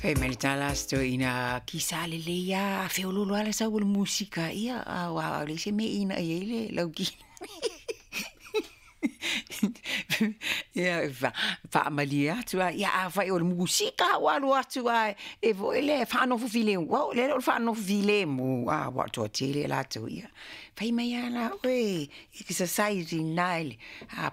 Fai mai le tala a si toeaina, kisa lelei lava, a feoloolo lava le sau o le musika, ia aua e leai se mea e inai ai le lau Ia faamalie atu lava, ia afai o le musika ua alu atu ae e foi lea e faanofo filemu, o le le o le faanofo filemu aua o le toatele latou ia. Fai mai lava la oe exercise i ina i le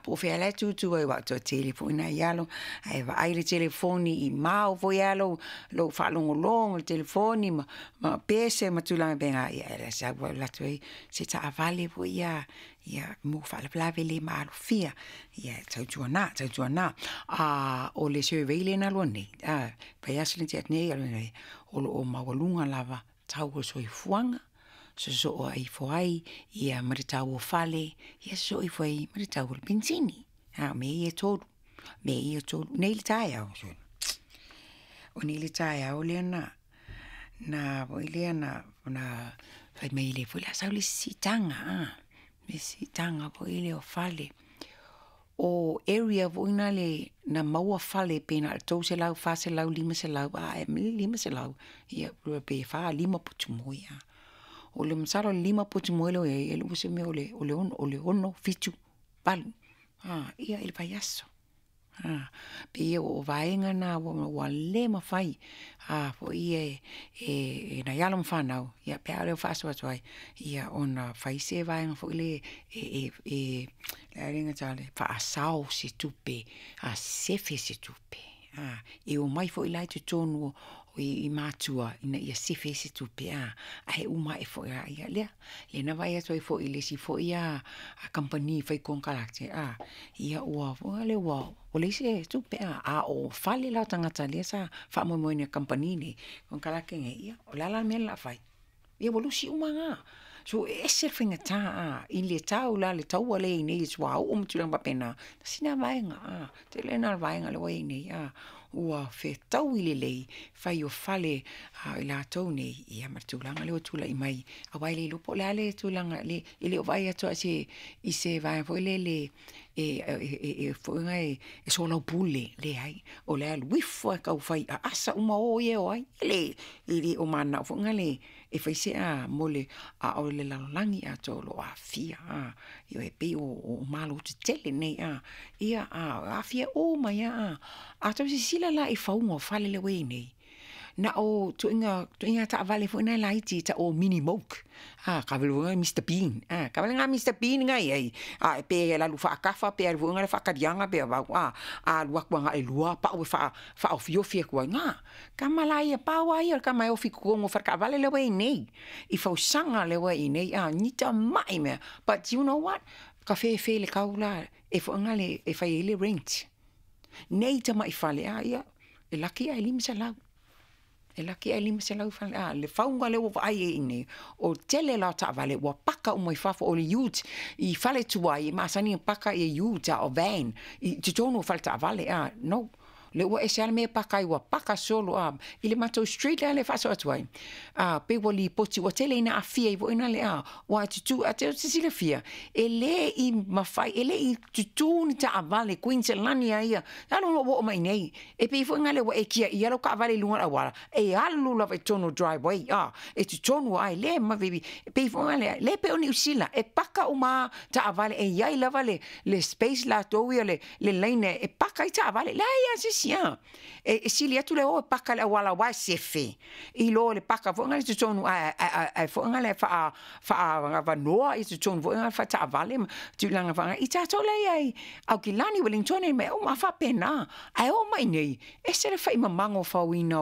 po o fea la e tutu ai aua o le toatele foi nai alo, ae vaai le telefoni i mao foi lava lou faalogologo i le telefoni ma pese ma tulaga faapena, ia e sau lava alu atu ai se taavale foi ia mo faalavelave le maalofia. Ia tautuana, tautuana, o le survey lea na alu nei, vaiaso lea na tea atu nei, o lo o maualuga lava tau o le soifuaga, sosoo ifo ai ma le tau o fale, ia sosoo ifo ai ma le tau o le penisini. O mea ia e tolu, mea ia e tolu. Nei i le taeao, o nei i le taeao lea na fai mai o lea foi o le a sau le isi siitaga, le isi siitaga foi lea o fale. O area foi na na maua fale pe na o le $300, $400, $500 a ea mai le $500 ia pe 4, 5 potu moe. Masalo o le 5 potu moe lea ua i ai, e le o se mea o le 6, 7, 8 ia i le vaiaso. E pei o vaega na ua le mafai e nai alo ma fanau ia pei lava lea ona faasoa atu ai, ia ona fai se vaega foi lea e faasao se tupe, sefe se tupe, e omai foi la i totonu i matua ina ia sefe ai se tupe ae uma ae foi lava, ia lea. Lea na vaai atu ai foi i le isi kamupani fai konekarate ia ua foi lea ua leai se tupe a o fale la o tagata lea sa faamoemoe i kamupani nei, konekarate nei, ia o le a la le mea o le a fai? Ia ua lusi uma na. So e ese le faigata i le tau la le taua lea e i ai nei i le suauu ma tulaga faapena, tasi lena vaega, tele lena o le vaega lea ua i ai nei ua fetaui lelei fai o fale a i latou nei, ia ma le tulaga lea ua tulai mai, aua e le iloa po o le a le tulaga e le o vaai atu lava i se vaega foi lele e soalaupule, leai. O le alu ifo lava e tau fai aasa uma o ia e o ai. E le o mananao foi lele e fai se mo le… a o le lalolagi atoa o lo o aafia. Ioe, e pei o Malo tetele nei, ia aafia uma ai lava. A outou silasila la i le fauga o fale lea ua i ai nei, na o ituaiga taavale foi nei laiti e tau o mini moke, taavale foi nei Mr Bean, taavale na a Mr Bean na e i ai, pe alu faatafa pe alu foi lea faataliaga pe a, a alu atu lava na o le lua pau e faaofiofi atu ai i ina. Tama la ia, pau lava ia o le tama e ofi i totonu o faletaavale lea ua i ai nei, i fausaga lea ua i ai nei ni tamai mea. But you know what? Tafefe i le tau la e foi lea e fai ai le rent. Nei tamai fale, a ia, e laki ae $500. E laki ae $500 fale, a le fauga lea ua vaai ai nei, o le tele la o taavale ua paka uma i fafo, o le ute i fale tuai e masani ona paka ute a o van i totonu o faletaavale, a no. Lea ua ese lava le mea e paka ai ua paka solo i le matou street la lea e faasoa atu ai, pei ua lipoti ua tele ina aafia ai foi lea, aua e tutu, a e te silafia, e le i mafai, e le i tutu ni taavale Kuiniselani lava ia, talu ona ou oo mai i inei, e pei foi lea ua e tiaia lau taavale i luga o le auala, e alu lava i totonu o le driveway, e totonu lava, e le e pei foi lea, le pei o Niu Sila, e paka uma lava taavale, e i ai lava le space latou ia, le laina e paka ai taavale. E leai lava se isi, e sili atu le o e paka i le auala aua e sefe, i lo le paka foi lea i totonu ae foi lea faaavanoa totonu foi lea faataavale ma tulaga faapena. I tatou la ia i Aukilani, Ueligitone mea uma lava faapena. Ae oo mai i inei, ese le faimamago o le fauina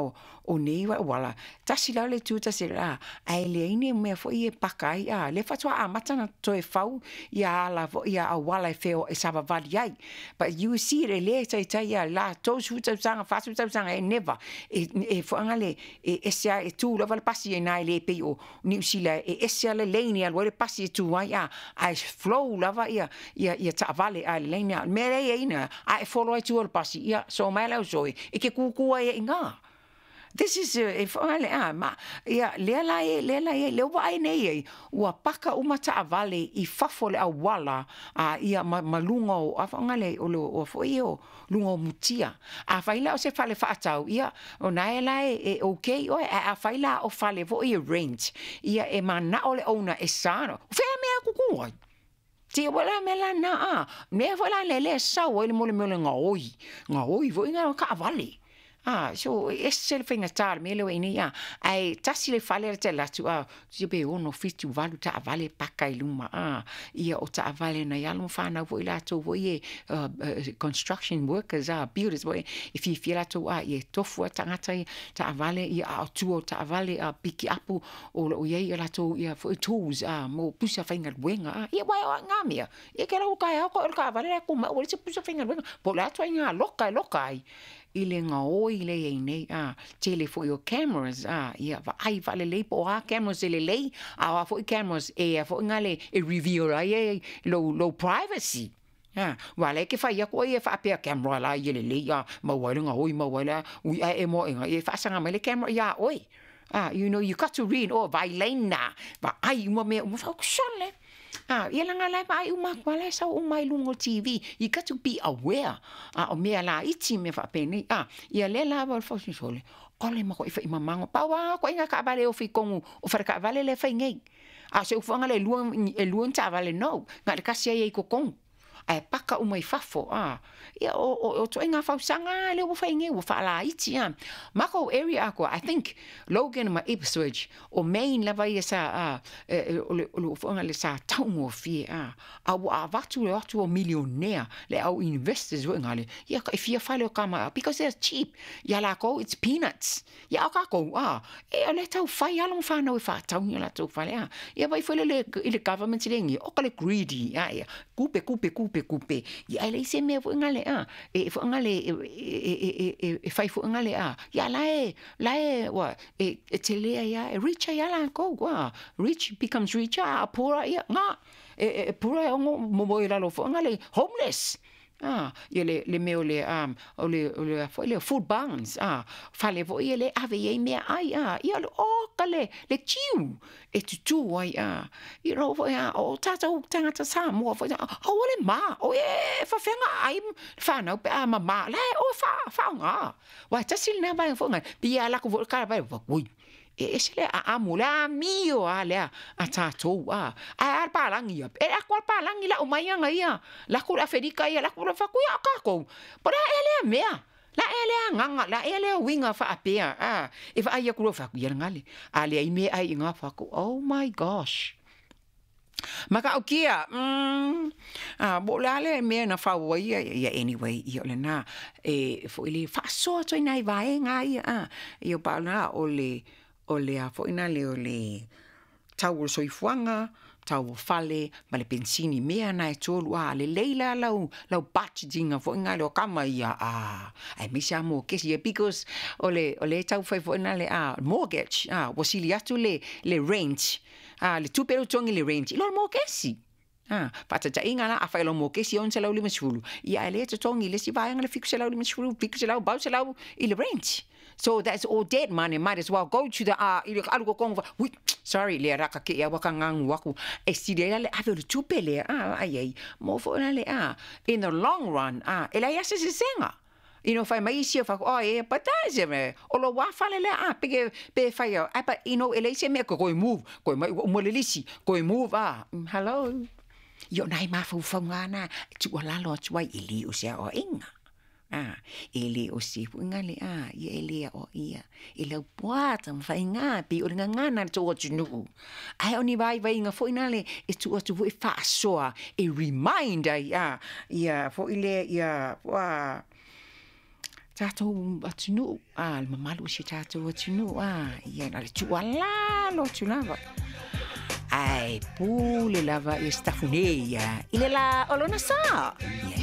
o nei auala, tasi la le itu tasi le ae leai ni mea foi ia e paka ai, a lea faatoa amata ona toe fau ia ala foi ia auala e savavali ai. But you see e le taitai ia la 30 tausaga, 40 tausaga e never e foi le e ese e tu lava le pasi ai na e le pei o Niu Sila e ese le lane e alu ai le pasi e tu ai a e flow lava ia taavale a le lane a mea lea i ai na a e follow ai tua o le pasi ia so mai le au soe e ke kukua ai i ngā. This is e whaale a ma ia lea la e lea la e lea ua nei ai ua paka uma taavale i fafo le auala a ia ma luga o a whaangale o le o foi o luga o mutia. A fai la o se fale faatau ia o nae la e okay oe a fai la o fale foi e rent ia e mana o le owner e sa fea mea kuku ai. Ti wala me la na a mea foi la le le sau ai le mole mole ngā oi foi ngā kaavale. Ah, so ese le faiga tā le mea lea ua i nei a ae tasi le fale le te alu atu a sia pe 6, 7, 8 taavale paka i luma a ia o taavale nai alo ma fanau foi latou foi e construction workers a builders foi e fiafia latou a ia e tofu a tagata ia taavale ia a o tua o taavale a piki apu o lo o i ai ia latou ia foi tools a mo pusa faigaluega a ia uae o ai ngā mea ia ke lau taeao koe o le taavale la e ku mai ua leai se pusa faigaluega po o le a ituaiga loka e loka ai i le gaoi lea i ai nei, a, tele foi o cameras, a, ia vaai faalelei po o a cameras e lelei, a o a foi cameras e a foi ngale e reveal ai e lou, lou privacy. A, ua lea e ke fai aku ai e faapea camera la ia lelei, a, maua ai le gaoi, maua ai le a, ui ae e moa i ia e faasaga mai le camera iā oe. A, you know, you got to read, oh, vailena, vaai uma mea uma, sole. A, ia laga la e vaai uma atu lava la e sau uma i luga o le TV. You got to be aware. A o mea laiti mea faapenei. A, ia lea lava o le fausinosole, o le makuai faimamago. Pau lava ituaiga taavale e ofi i totonu o faletaavale lea e fai nei. A o se ufuaga le lua, e lua ni taavale no. Na o le tasi lava i ai i totonu. Ae paka uma i fafo, a. Ia, o, o, o ituaiga fausaga lea ua fai nei, ua faalaiti a. Makou area atoa, I think Logan ma Ipswich, o Main lava ia sa, a, e, o le, o le ufuaga le sa taugofie, a. A ua avatu le o atu o milionea, le au investors foi gale, ia e fia fale o kama, because they're cheap. Ia lakou, it's peanuts. Ia a o kakou, a, e, o lea e taufai alo ma fanau e faatau ni o latou fale, a. Ia vaai foi lele i le government le ngi, oka le greedy, a, ia, kupe, kupe, kupe, kupe, ia e leai se mea foi gale, a, e foi gale, e, e, e, e, e fai foi gale, a, ia la e, la e, ua, e, e tele ai a, e rich ai a lakou, a, rich becomes richer, a poorer, ia, nga, e, e, e poorer e ono momoe i lalo foi gale, homeless. A, ia le, le mea o le, a, o le, o le a foi lea, food barns, a, fale foi ia le ave i ai meaai, a, ia o le oka le, le tiu e tutū ai, a, you know foi, a, o tātou tagata Samoa foi, a, aua le mā, o e, e faafeaga ai whānau pe a mamā, la e oe wha, whaonga. Wai tasi lena vaega foi ngai, pi a lako foi le kala vai, ui, e ese le aamu, le amio a lea a tātou, a, ae a le pālagi ia, e lako a le pālagi lau mai aga ia, lako le Aferika ia, lako le whaku ia o kākou, po la ea lea mea, la ea lea agaga, la ea lea uiga faapea, a, e vaai aku loa whaku ia le gale, a leai mea ai i ngā whaku, oh my gosh. Matautia, umm, a, po o le a le mea na fau ai ia, ia anyway, ia o lena, e foi le faasoa atu ai nai vaega ia, a, ia pa o lena, o le, o le a foi na le, o le tau o le soifuaga, tau o fale, ma le penisini, mea na e tolu, a, lelei la lau, lau budgeting foi na le o kama ia, a, aemaise lava mokesi ia, because o le, o le tau fai foi na le, a, mortgage, a, ua sili atu le, le rent, A, le tupe lea ua togi i le rent, i lo le mokesi. A, faataitaiga la, afai o lau mokesi e $650, ia ae lea e totogi i le isi vaega le $750, $700, $800 i le rent. So that's all dead money, might as well go to the, a, i le alu kokoga fa, ui, sorry, lea la ka keʻi aua ka gagu aku, e sili ai la le ave o le tupe lea, a, vaai ai, mo foi la le, a, in the long run, a, e leai lava se sesega. You know, fai mai isi o whako, oh yeah, but that is a, o lo wā fale lea, ah, peke, pe whai au, ah, but you know, e leai se mea, koe move, koe mai ua uma le lisi, koe move, ah, hello. I o nai mafaufauga ana, e tuualalo atu ai, e le o se aoaiga. Ah, e le o se fuiga le, ah, ia e le aoaia, e laupua taumafaiga, pei o le gagana i le tou atunuu. Ae o ni vaivaiga foi na le, e tuu atu foi e faasoa, e remind ai, ah, ia foi lea, ia, ah, tatou atunuu, a, le mamalu o si o tatou atunuu, a, ia na le tuualalo atu lava. Ae pule lava ia Sitafune ia i le lā o lona sa. Ia.